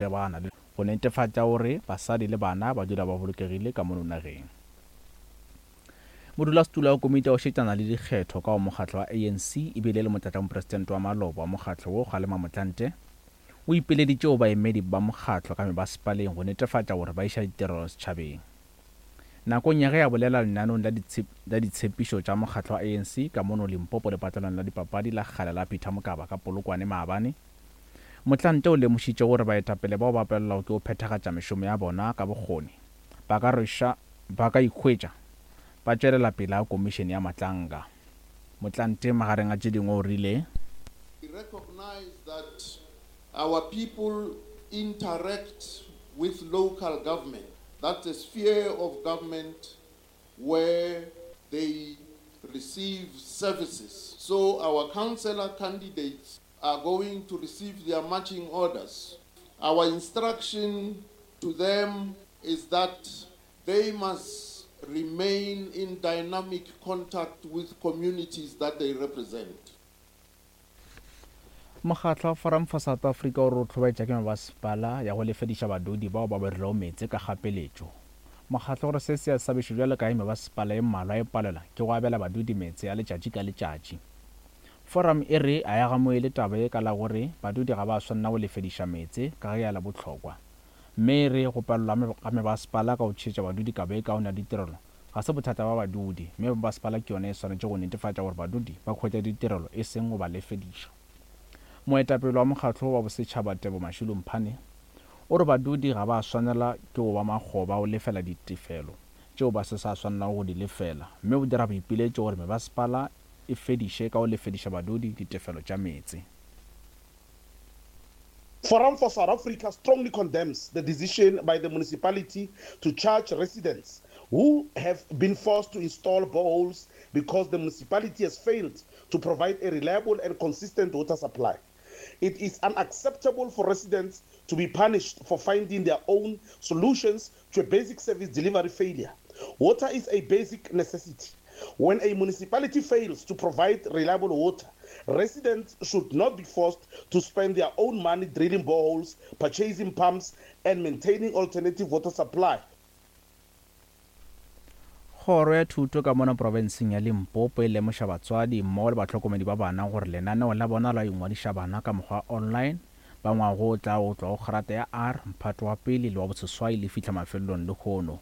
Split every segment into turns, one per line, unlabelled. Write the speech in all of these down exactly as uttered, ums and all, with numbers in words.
Lebana le go netefatša gore basadi le bana ba dula ba bolokegile ka mono nageng. Modulasetulo wa komiti ya go šetšana le dikgetho ka go mokgatlo wa A N C ebile le motlatšamopresidente wa maloba wa mokgatlo wo, Kgalema Motlanthe, o ipileditše go baemedi ba mokgatlo ka mebasepaleng go netefatša gore ba iša ditirelo setšhabeng. Nakong ya ge a bolela lenaneong la ditshepišo tša mokgatlo wa A N C ka mono Limpopo lepatlelong la dipapadi la kgale la Peter Mokaba ka Polokwane maabane, Motlanthe o lemošitše gore baetapele bao ba palelwago ke go phethagatša mešomo ya bona ka bokgoni ba ka rweša ba ka ikhwetša ba tšwelela pele ga komišene ya Madlanga. Motlanthe magareng a tše dingwe o rile:
We recognize that our people interact with local government. That's a sphere of government where they receive services. So our councillor candidates are going to receive their marching orders. Our instruction to them is that they must remain in dynamic contact with communities that they represent.
Mokgatlo wa Forum for South Africa o re o hlobaetša ke mebasepala ya go lefediša badudi bao ba berilego meetse ka kgapeletšo. Mokgatlo gore se se a sabišo bjalo ka ge mebasepala e mmalwa e palelwa ke go abela badudi meetse ya letšatši ka letšatši. Forum e re a ya gamoele taba e ka la gore badudi ga ba swanela go lefediša meetse ka ge ya la bohlokwa, mme e re go palelwa ga mebasepala ka go tšhetša badudi kabo e kaone ya ditirelo ga se bothata ba badudi, mme mebasepala ke yona e swanetše go netefatša gore badudi ba hwetša ditirelo e seng go ba lefediša. Moetapele wa mokgatlo wa bosetšhaba, Tebo Mashilo Mphane, o re badudi ga ba swanela ke go ba makgoba go lefela ditefelo tšeo ba se sa swanelago go di lefela, mme o dira boipiletšo gore mebasepala e fediše ka go lefediša badudi ditefelo tša meetse.
Forum for South Africa strongly condemns the decision by the municipality to charge residents who have been forced to install boreholes because the municipality has failed to provide a reliable and consistent water supply. It is unacceptable for residents to be punished for finding their own solutions to a basic service delivery failure. Water is a basic necessity. When a municipality fails to provide reliable water, residents should not be forced to spend their own money drilling boreholes, purchasing pumps, and maintaining alternative water supply.
Kgoro ya thuto ka mona profenseng ya Limpopo e lemoša batswadi mmogo le bahlokomedi ba bana gore lenaneo la bona la ingwadiša bana ka mokgwa online ba ngwago o tla go tloga go kgrata ya R, mphato wa pele le wa boseswai le fihla mafelelong lehono.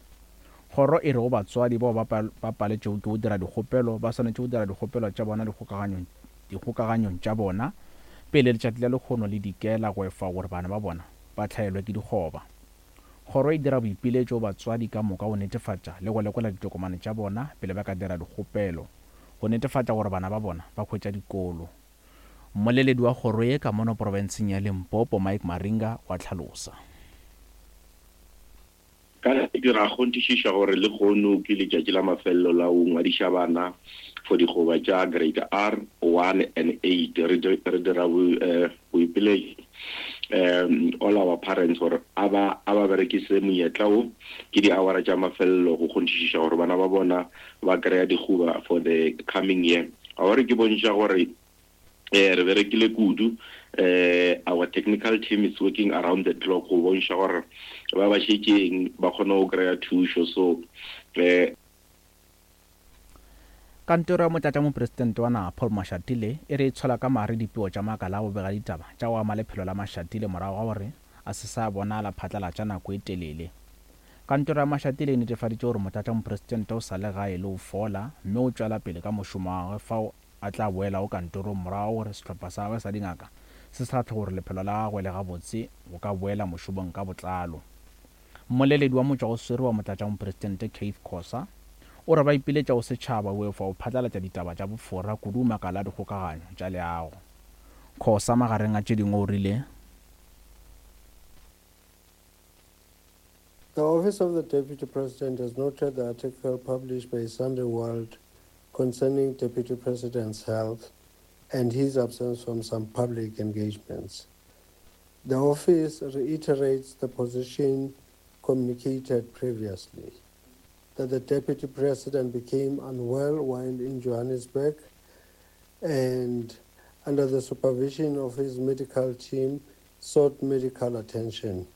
Kgoro e re go batswadi bao ba paletšego ke go dira dikgopelo ba swanetše go dira dikgopelo tša bona dikgokaganyong tša bona pele letšatši la lehono le dikela go efa gore bana ba bona ba hlaelwe ke dikgoba. Kgoro e dira boipiletšo batswadi ka moka go netefatša le go lekola ditokomane tša bona pele ba ka dira dikgopelo go netefatša gore bana ba bona ba hwetša dikolo. Mmoleledi wa kgoro ye ka mono profenseng ya Limpopo, Mike Maringa, wa tlhalosa.
Ka dira kgonthišiša gore lehono ke letšatši la mafelelo la go ngwadiša bana for digoba tša grade R one and eight. Re dira boipiletšo um all our parents gore a ba a ba berekise monyetla o, ke di-hour tša mafelelo go kgonthišiša gore bana ba bona ba kry-a digoba for the coming year. Gore ke bontšha gore eh re berekile kudu, eh our technical team is working around the clock go bontšha gore ba ba šetšeng ba kgone go kry-a thušo, so eh
Kantoro ya motlatšamopresidente wa naga, Paul Mashatile, e re e tshola ka mare dipego tša makala a go bega ditaba tša go ama lephelo la Mashatile morago ga gore a se sa bonala phatlalatša nako e telele. Kantoro ya Mashatile e netefaditše gore motlatšamopresidente o sa le gae le go fola, mme o tšwela pele ka mošomo wa gagwe fao a tla boelago kantorong morago gore sehlopha sa gagwe sa dingaka se sa tlhe gore lephelo la gagwe le gabotse go ka boela mošomong ka botlalo. Mmoleledi wa motšwagoswere wa motlatšamopresidente, Keith Khosa, o re ba ipiletša go setšhaba go efa go phatlalatša ditaba tša bofora kudu makala a dikgokaganyo tša leago. Khosa magareng a tše dingwe o rile:
The Office of the Deputy President has noted the article published by Sunday World concerning Deputy President's health and his absence from some public engagements. The office reiterates the position communicated previously, that the Deputy President became unwell while in Johannesburg and under the supervision of his medical team sought medical attention.